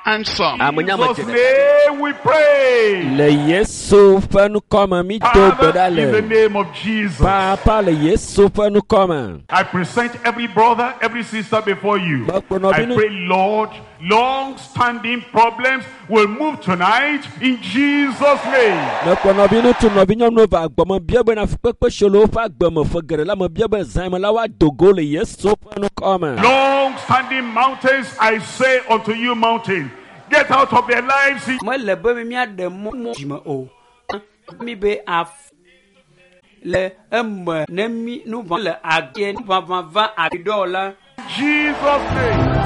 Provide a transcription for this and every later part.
Answer. Ame nya me Jesus' dze ɖeka. name we pray. Le Yesu ƒe ŋkɔme mi do gbe Father, ɖa in the le. name of Jesus, Papa le Yesu ƒe ŋkɔme. I present every brother, every sister before you. I pray, Lord, long-standing problems will move tonight in Jesus' name. Mekplɔ nɔvi ŋutsu nɔvi nyɔnuwo va gbɔme bia bena fukpekpe si le woƒe agbe me ƒe geɖe la me bia be zã me la woado go le Yesu ƒe ŋkɔme. Long-standing mountains, I say unto you, mountain, get out of their lives in Mele be míaɖe mɔ mɔ dzime o. Mi be af le eme ne mi nu ʋã le age nu ʋaʋã va aɖɔ la. Jesus' name.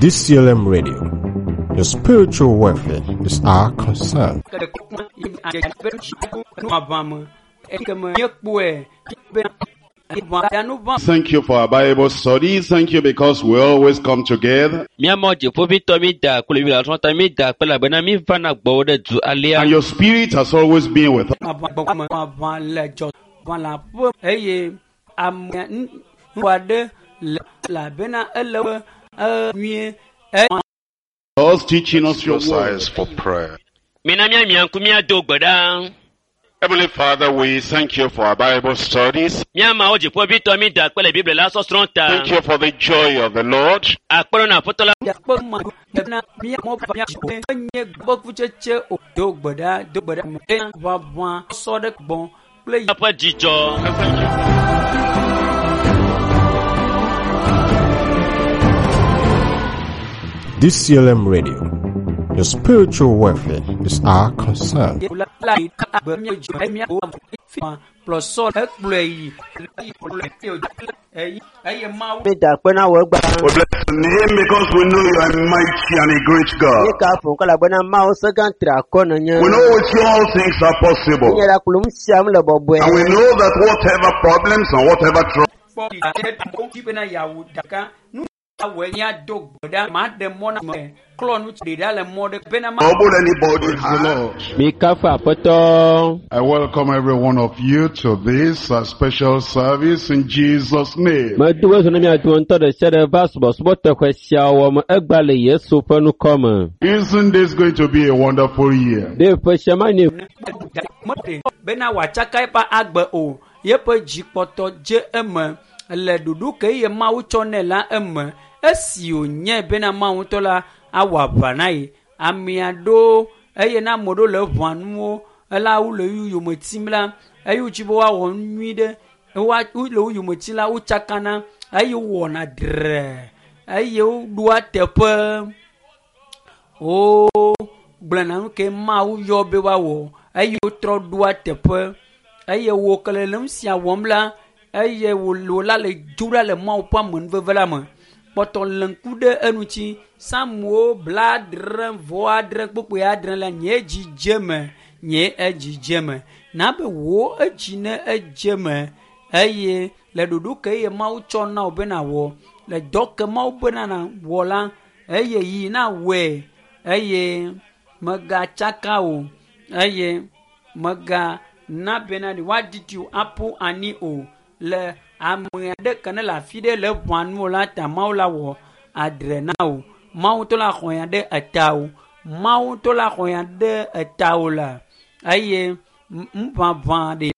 DCLM Radio. Your spiritual welfare is our concern. Nu ʋaʋã me. Ekeme míekpɔe be ʋã nu ʋã. Thank you for our Bible study. Thank you because we always come together. Míamɔ dziƒovitɔ mi da akpe le Biblia srɔ̃ ta mi da akpe elabena mi vana gbɔwò ɖe du alea. And your spirit has always been with us. Ʋaʋã gbɔgbɔ me ʋaʋã le dzɔ ʋã le aƒe eye ame ŋu aɖe le elabena ele be nyuie. Us teaching us your Your word. eyes for prayer. Mina míamia ŋku míado gbe ɖa. Heavenly Father, we thank you for our Bible studies. Míamawo dziƒovitɔ mi da akpe le Biblia la sɔsrɔ̃ ta. Thank you for the joy of the Lord. Akpɔ na Aƒetɔ la Akpɔ ma na míamɔ mía nye gbɔkutsetse o do gbe ɖa do gbe ɖa ʋaʋã sɔ ɖe gbɔ kple ƒe dzidzɔ. And thank you. DCLM Radio. Your spiritual welfare is our concern. la la agbe mía dzi mía kplɔ sɔ hekplɔe yi eye Mawu Mi da akpe na wò egba. We bless your name because we know you are mighty and a great God. Mi ka fo elabena Mawu sẽ gã tri akɔ nènye. We know with you all things are possible. Nye la kplɔ nu sia nu le bɔbɔe. And we know that whatever problems and whatever trouble kpɔ bena yeawu ɖeka nu awɔe míado gbe ɖa ma ɖe mɔ na me klɔ nu ɖe ɖa le mɔ ɖe bena ma anybody has. Mi kafu Aƒetɔ. I welcome every one of you to this special service in Jesus' name. Medo ezu na mia dometɔ ɖe sia ɖe va subɔsubɔ teƒe sia wɔ me egba le Yesu ƒe ŋkɔme. Isn't this going to be a wonderful year? Ɖe ƒe sia ma nye meɖe bena wòatsaka eƒe agbe o yeƒe dzikpɔtɔ dze eme le ɖoɖo ke ye Mawu tsɔ nɛ la eme esi wònye bena Mawu ŋutɔ la awɔ aʋa na ye amea ɖewo eye na ame ɖewo le ʋɔa nuwo ela wo le wo yome tim la eye wotsi be woawɔ nu nyui ɖe woa wole wo yome tim la wotsakana eye wowɔna dre eye woɖoa teƒe wo gblɔna nu ke Mawu yɔ be woawɔ eye wotrɔ ɖoa teƒe eye wo ke le nu sia wɔm la eye wo wo la le dzo ɖa le Mawu ƒe amenuveve la me kpɔtɔ le ŋku ɖe eŋuti Samuwo 76 kpukpui 6 la nye edzi dze me nye edzi dze me na be wò edzi ne edze me eye le ɖoɖo ke ye Mawu tsɔ na wò be nawɔ le dɔ ke Mawu bena nawɔ la eye yi na wɔe eye megatsaka o eye mega na bena ɖe woadidi wò aƒu anyi o le ame aɖe ke ne le afi ɖe le ʋɔa nu o la ta Mawu la wɔ adre na wò Mawu ŋutɔ la xɔ ya ɖe eta wò Mawu ŋutɔ la xɔ ya ɖe eta wò la eye ŋuʋaʋã ɖe.